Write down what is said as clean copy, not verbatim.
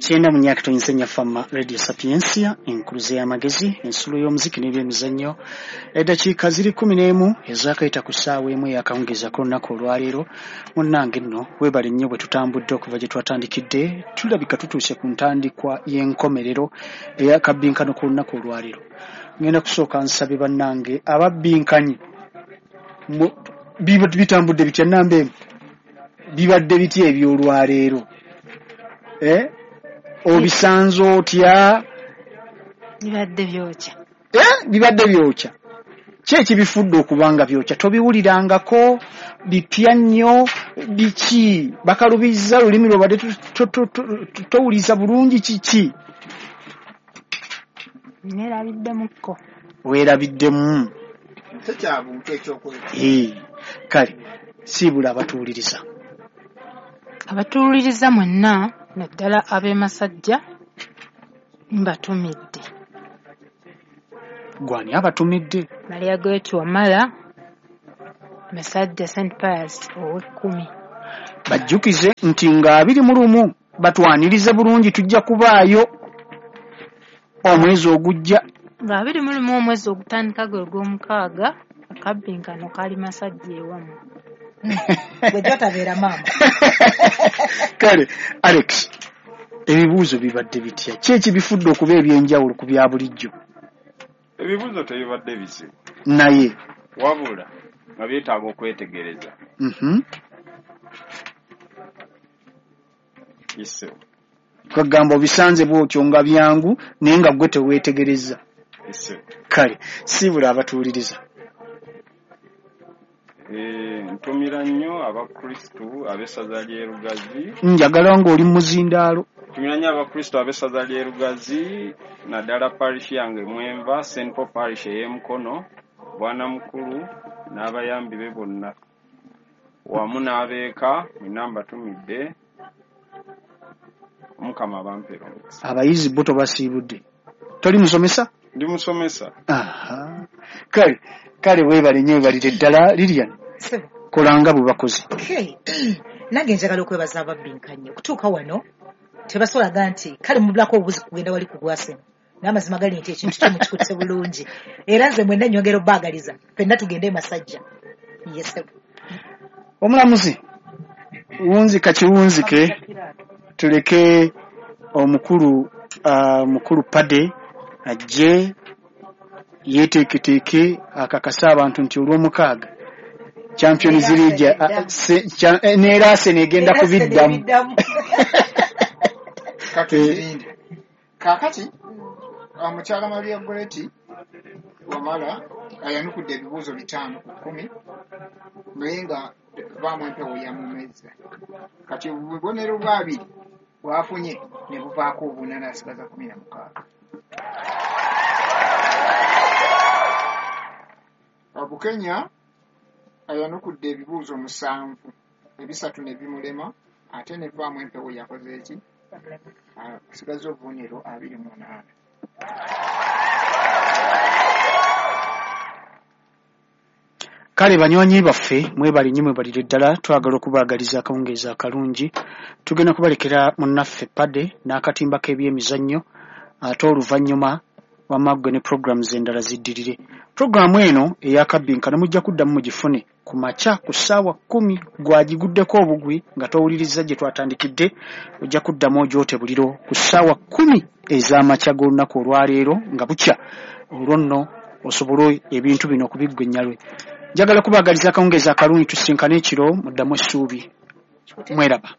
94.4 Fama Radio Sapientia, enkuluze y'amagezi, ensulo y'omuziki n'ebyemizannyo. Eddakiika ziri 11 ezaakayita ku ssaawa 1 ey'akawungeezi ak'olunaku olwaleero. Munnange nno weebale nnyo bwe tutambudde okuva gye twatandikidde, tulabika tutuuse ku ntandikwa y'enkomerero ey'akabbinkano k'olunaku olwaleero. Ngenda kusooka nsabe bannange ababbinkanyi bitambudde bitya namba emu, bibadde bitya eby'olwaleero? Obisanze otya? Bibadde byokya. Bibadde byokya. Ki ekibifudde okuba nga byokya? Tobiwulirangako, bipya nnyo, biki? Bakalubizza lulimi lwobadde towuliza bulungi kiki? Neerabiddemukko. Weerabiddemu. Tekyabuntu ekyokweka. Kale siibula abatuwuliriza. Abatuwuliriza mwenna naddala ab'e Masajja mbatumidde. Gwani abatumidde? Maria Goretti Wamala, Masajja St. Pius ow'ekkumi. Bajjukize nti nga 21 batwanirize bulungi, tujja kubaayo omwezi ogujja. Nga 21 omwezi ogutandika gwe gw'omukaaga, akabbinkano kali Masajja ewamu. Gwe gy'otabeera maama. Kale Alex, ebibuuzo bibadde bitya? Ki ekibifudde okuba ebyenjawulo ku bya bulijjo? Ebibuuzo tebibadde bizibu. Naye wabula nga byetaaga okwetegereza. Kwegamba obisanze bw'otyo nga byangu naye nga ggwe teweetegereza. Kale siibula abatuwuliriza. Ntumira nnyo Abakristu ab'essaza ly'e Lugazi. Njagala ng'oli muzindaalo. Ntumira nnyo Abakristu ab'essaza ly'e Lugazi, naddala parish yange mwenva, St. Paul Parish ey'Emukono, Bwana Mukulu n'abayambi be bonna wamu n'abeeka mwenna mbatumidde. Omukama abampeere omukisa. Abayizi bo tobasiibudde. Toli musomesa? Ndi musomesa. Kale kale weebale nnyo, weebalire ddala. Lilian, kolanga bwe bakoze. Nange njagala okwebaza ababbinkanyi okutuuka wano. Tebasolaga nti kale mubulako obubuzi kugenda wali ku gwaseno. N'amazima gali nti ekintu kyo mukikutte bulungi. Era nze mwenna nnyongera obbaagaliza ffenna tugende e Masajja. Yes. Omulamuzi wunzika kiwunzike, tuleke omukulu mukulu Pade ajje yeeteeketeeke akakasa abantu nti olw'omukaaga Champions League n'era Arsenal egenda kubiddamu. Kaakati omukyala Maria Goretti Wamala ayanukudde ebibuuzo 5 ku 10 naye nga vaamu empewo yamumezza. Kati obubonero bwa 2 bwafunye ne buvaako obuna n'asigaza 16. Bukenya ayanukudde ebibuuzo 7, 3 ne bimulema ate ne vaamu empewo yakoze eki? Asigaza obubonero 28. Kale banywanyi baffe mwebale nnyo, mwebalire ddala. Twagala okubaagaliza akawungeezi akalungi. Tugenda kubalekera munnaffe Pade n'akatimba k'ebyemizannyo, ate oluvannyuma wamaggwe ne programs endala ziddirire. Programu eno ey'akabbinkano mujja kuddamu mugifune ku makya ku ssaawa 10 gwagiguddeko obugwi nga towuliriza gye twatandikidde. Ojja kuddamu ogyote buliro ku ssaawa 10 ez'amakya g'olunaku olwaleero nga bukya, olwo nno osobole ebintu bino okubiggwa ennyalwe. Njagala kubaagaliza akawungeezi akalungi, tusinkane ekiro, muddamu essuubi. Mweraba.